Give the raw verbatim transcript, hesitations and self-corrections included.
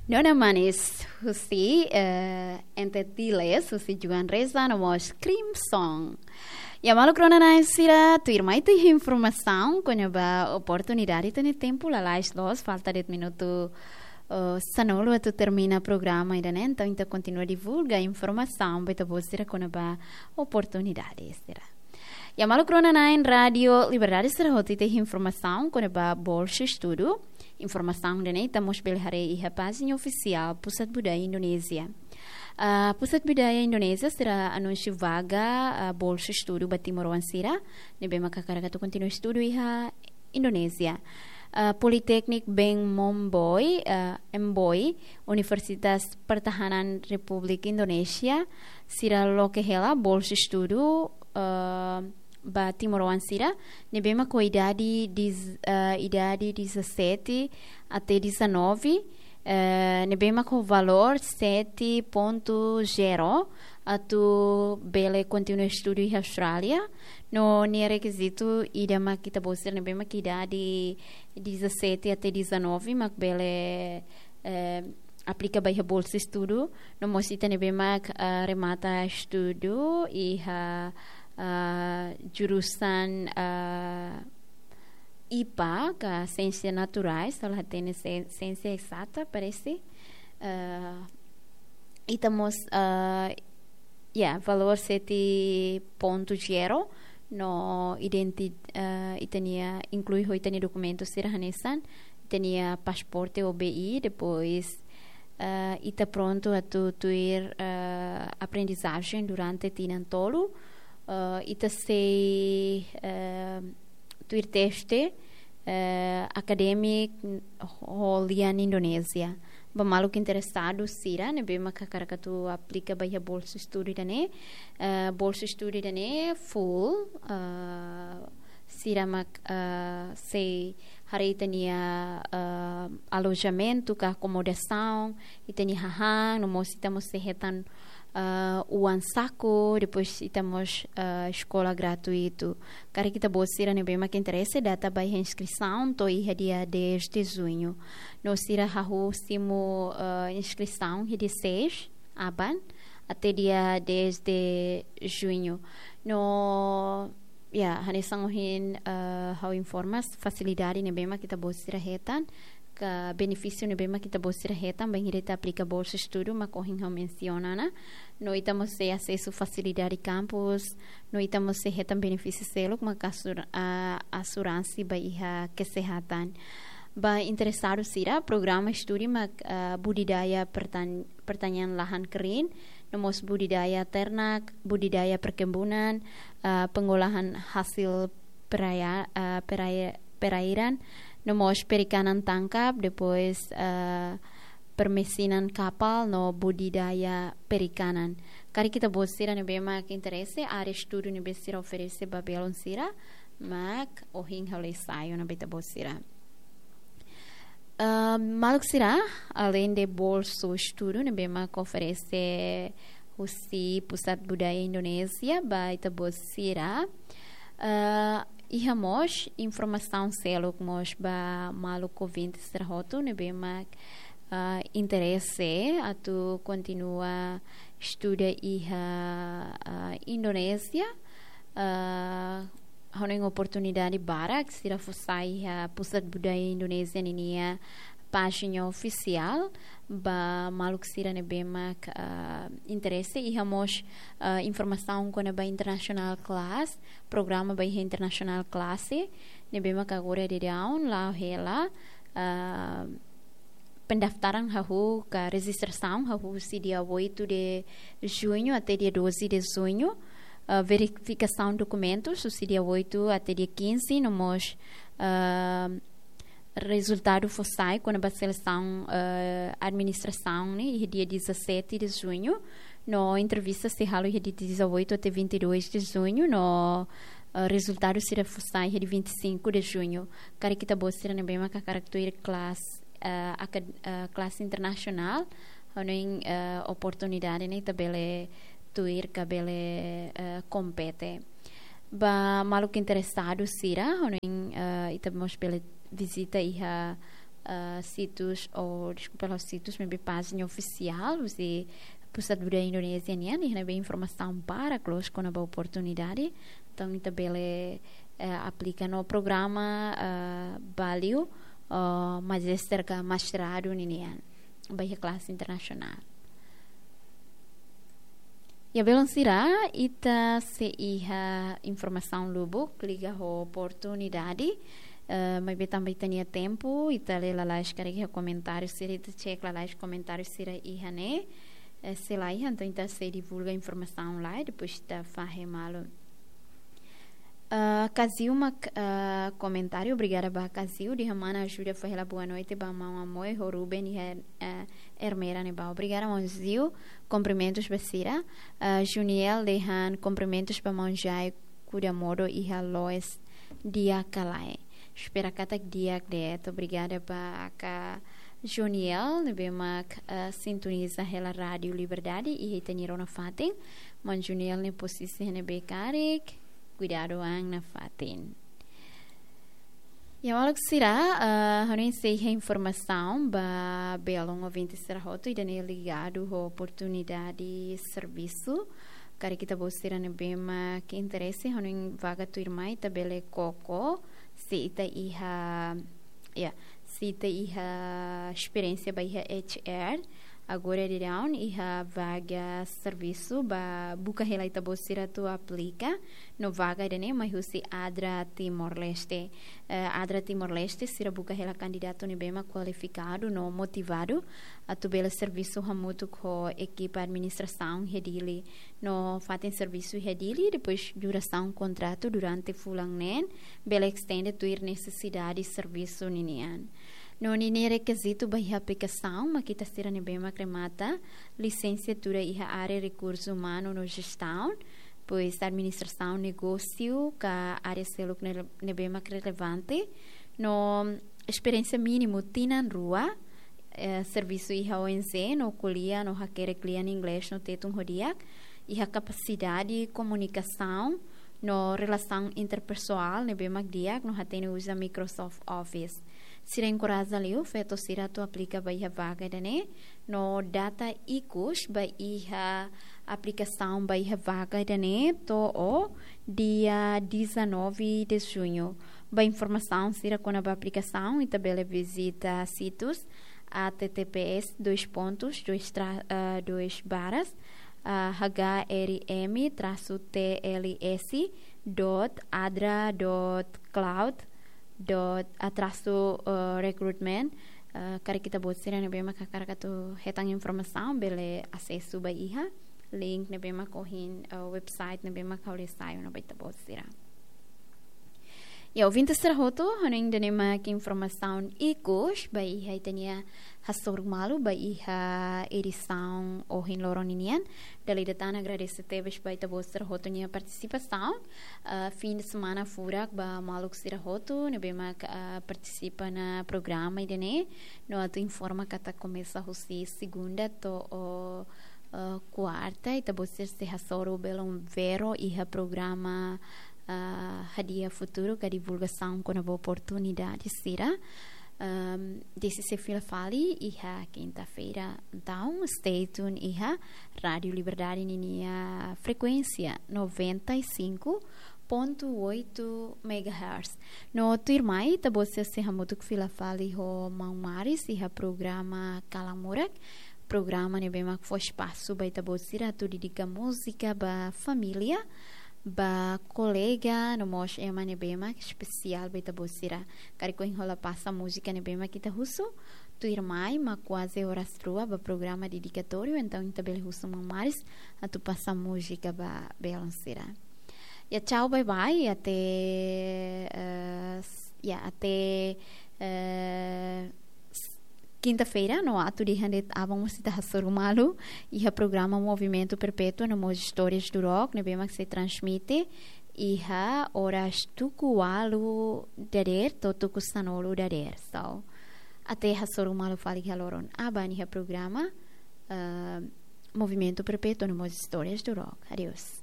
Nona Manis husi, eh, Ente Tiles, husi Juan Reza, no mós Crimson. Ya, maluk rona-na'in sira, tuirmai ita iha informasaun kona-ba oportunidade, ita-nia tempu lalais loos, falta de'it minutu, eh, sanulu atu termina programa ida-ne'e, entaun ita kontinua divulga informasaun ba ita-boot sira kona-ba oportunidade sira. Ya, maluk rona-na'in Rádio Liberdade sira, hotu ita iha informasaun kona-ba bolsa estudu. Informasaun ida-ne'e ita mós bele haree iha pájina ofisiál Pusat Budaya Indonézia. Ah, Pusat Budaya Indonézia sira anunsia vaga, ah, bolsa estudu ba timoroan sira ne'ebé mak hakarak atu kontinua estudu iha Indonézia. Ah, Politeknik Bank Momboi, ah, Mboi, Universitas Pertahanan Republik Indonesia, sira loke hela bolsa estudu, ah, ba timoroan sira ne'ebé mak ho idade diz-, ah, idade dezassete até dezanove, eh, ne'ebé mak ho valór sete ponto zero atu bele kontinua estudu iha Austrália. No nia rekizitu ida mak ita-boot sira ne'ebé mak idade dezassete até dezanove mak bele, eh, aplika ba iha bolsa estudu. No mós ita ne'ebé mak, eh, remata estudu iha, eh, jurusan, eh, IPA, ka Siénsia Naturais, se la hatene, si-, Siénsia Ezata, parese. Eh, ita mós, eh, ya, valór sete ponto zero, no identi-, eh, ita-nia, inklui ho ita-nia dokumentu sira hanesan, ita-nia pasaporte ou B I, depois, eh, ita prontu atu tuir, eh, aprendizajen durante tinan tolu, eh, ita sei, eh, tuir teste, eh, akadémiku ho lian Indonézia. Ba maluk interesadu sira ne'ebé mak hakarak atu aplika ba iha bolsa estudu ida-ne'e, eh, bolsa estudu ida-ne'e full, eh, sira mak, eh, sei haree ita-nia, eh, alojamentu ka akomodasaun, ita-nia hahán, no mós ita mós sei hetan, eh, oan saku, depois ita mós, eh, eskola gratuitu. Karik ita-boot sira ne'ebé mak interese, data ba iha inskrisaun to'o iha dia dez de junho. No sira hahú simu, eh, inskrisaun iha dia seis aban até dia dez de junho. No, ya, hanesan ohin, eh, ha'u informa, fasilidade ne'ebé mak ita-boot sira hetan, ka benefísiu ne'ebé mak ita-boot sira hetan bainhira ita aplika bolsa estudu mak ohin ha'u mensiona ona. No ita mós sei asesu fasilidade kampus, no ita mós sei hetan benefísiu seluk mak asur-, ah, asuransi ba iha kesehatan. Ba interesadu sira, programa estudu mak, ah, budidaya pertan-, pertanian lahan kering, no mós budidaya ternak, budidaya perkebunan, ah, pengolahan hasil peraya-, ah, peraya-, perairan, no mós perikanan tangkap, depois, ah, permesinan kapal no budidaya perikanan. Karik ita-boot sira ne'ebé mak interese, área estudu ne'ebé sira oferese ba belun sira, mak ohin ha'u lei sai ona ba ita-boot sira. Ah, maluk sira, aleinde bolsa estudu ne'ebé mak oferese husi Pusat Budaya Indonézia ba ita-boot sira, ah, iha mós informasaun seluk mós ba maluk ouvinte sira hotu ne'ebé mak, ah, interese atu kontinua estuda iha, ah, Indonézia. Ah, hanoin oportunidade barak sira fó sai iha Pusat Budaya Indonézia ninia pájina ofisiál. Ba maluk sira ne'ebé mak, ah, interese, iha mós, ah, informasaun kona-ba international class, programa ba iha international class ne'ebé mak agora daudaun la'o hela, ah, pendaftaran hahú ka rejistrasaun hahú husi dia oito de junho até dia doze de junho. Ah, verifikasaun dokumentus husi dia oito até dia quinze, no mós, ah, rezultadu fó sai kona-ba selesaun, ah, administrasaun ne'e iha dia dezassete de junho, no entrevista sei halo iha dia dezoito até vinte e dois de junho, no, ah, rezultadu sira fó sai iha dia vinte e cinco de junho. Karik ita-boot sira ne'ebé mak hakarak tuir kelas, ah, akad-, ah, kelas internasionál, hanoin, ah, oportunidade ne'e ita bele tuir ka bele, ah, kompete. Ba maluk interesadu sira, hanoin, ah, ita mós bele vizita iha ah, situs, ou, deskulpa, la'ós situs, maibé pájina ofisiál husi Pusat Budaya Indonézia nian, iha ne'ebé informasaun barak loos kona-ba oportunidade. Entaun, ita bele, eh, aplika no programa, eh, Baliu, eh, Magister ka Mestradu ninian, ba iha klase internasionál. Ya, belun sira, ita sei iha informasaun lubuk liga ho oportunidade, eh, maibé tanba ita-nia tempu, ita lee lalais karik iha komentáriu sira, ita cek lalais komentáriu sira iha ne'e, eh, se la iha, entaun ita sei divulga informasaun lai, depois ita fahe malu. Ah, Kaziu mak, ah, komentáriu, obrigada ba Kaziu, dehan mana ajuda fó hela boa noite ba maun Amoy ho Ruben iha, ah, Ermera ne'ebá. Obrigada, maun Ziu, kumprimentus ba sira. Ah, Juniel dehan kumprimentus ba maun Jai, kuda modo iha Loes di'ak ka lae. Espera katak di'ak de'it. Obrigada ba aka Juniel, ne'ebé mak, ah, sintoniza hela Rádiu Liberdade iha ita-nia rona fatin. Maun Juniel nia posisi ne'ebé karik, kuidadu an nafatin. Ya, maluk sira, ah, hanoin sei iha informasaun ba belun ouvinte sira hotu, ida-ne'e ligadu ho oportunidade servisu. Karik ita-boot sira ne'ebé mak interese, hanoin vaga tuirmai, ita bele koko, se ita iha, ya, se ita iha esperiénsia ba iha H R, agora daudaun iha vaga servisu ba buka hela ita-boot sira atu aplika, no vaga ida-ne'e mai husi ADRA Timor-Leste. Eh, ADRA Timor-Leste, sira buka hela kandidatu ne'ebé mak kualifikadu no motivadu atu bele servisu hamutuk ho ekipa administrasaun iha Dili. No fatin servisu iha Dili, depois durasaun kontratu durante fulan neen, bele estende tuir nesesidade servisu ninian. No ninia rekizitu ba iha aplikasaun, mak ita sira ne'ebé mak remata lisensiatura iha área rekursu umanu no jestaun, depois administrasaun negósiu ka área seluk ne'e-, ne'ebé mak relevante, no esperiénsia mínimu tinan rua, eh, servisu iha O N G, no ko'alia no hakerek lian inglés no tetun ho di'ak, iha kapasidade komunikasaun no relasaun interpesoál ne'ebé mak di'ak, no hatene uza Microsoft Office. Sira enkoraja liu feto sira atu aplika ba iha vaga ida-ne'e, no data ikus ba iha aplikasaun ba iha vaga ida-ne'e to'o dia dezanove de junho. Ba informasaun sira kona-ba aplikasaun, ita bele vizita situs H T T P S dois pontos, dois tra-, ah, dois barras, ah, H R M traço T L S dot adra dot cloud dot, ah, traço, ah, recruitment. Ah, karik ita-boot sira ne'ebé mak hakarak atu hetan informasaun, bele asesu ba iha link ne'ebé mak ohin, ah, website ne'ebé mak ha'u lee sai ona ba ita-boot sira. Ya, ouvinte sira hotu, hanoin ida-ne'e mak informasaun ikus ba iha ita-nia hasoru malu ba iha edisaun ohin loron ninian. Dala ida tan agradese tebes ba ita-boot sira hotu nia partisipasaun. Ah, fim de semana furak ba maluk sira hotu ne'ebé mak, ah, partisipa ona programa ida-ne'e. No atu informa katak komesa husi segunda to'o, ah, kuarta, ita-boot sira sei hasoru belun vero iha programa, ah, hadi'a futuru ka divulgasaun kona-ba oportunidade sira. Ahm, desde se fila fali iha kinta-feira. Entaun, stay tuned iha Rádiu Liberdade ninia frekuénsia noventa e cinco ponto oito megahertz. No tuirmai, ita-boot sira sei hamutuk fila fali ho maun Maris iha programa Kalan Murak. Programa ne'ebé mak fó espasu ba ita-boot sira atu dedika múzika ba família, ba kolega, no mós ema ne'ebé mak espesiál ba ita-boot sira. Karik ohin hola pasa múzika ne'ebé mak ita husu, tuirmai mak kuaze oras rua ba programa dedikatóriu, entaun ita bele husu maun Maris atu pasa múzika ba belun sira. Ya, tchau, bye bye, até, eh, s-, ya, até, eh, s-, kinta-feira, no atu dehan de'it aban mós ita hasoru malu iha programa Movimento Perpétuo no mós Histórias do Rock, ne'ebé mak sei transmite iha oras tuku ualu dadeer to'o tuku sanulu dadeer. So, até hasoru malu fali iha loron aban iha programa, eh, Movimento Perpétuo no mós Histórias do Rock. Adeus.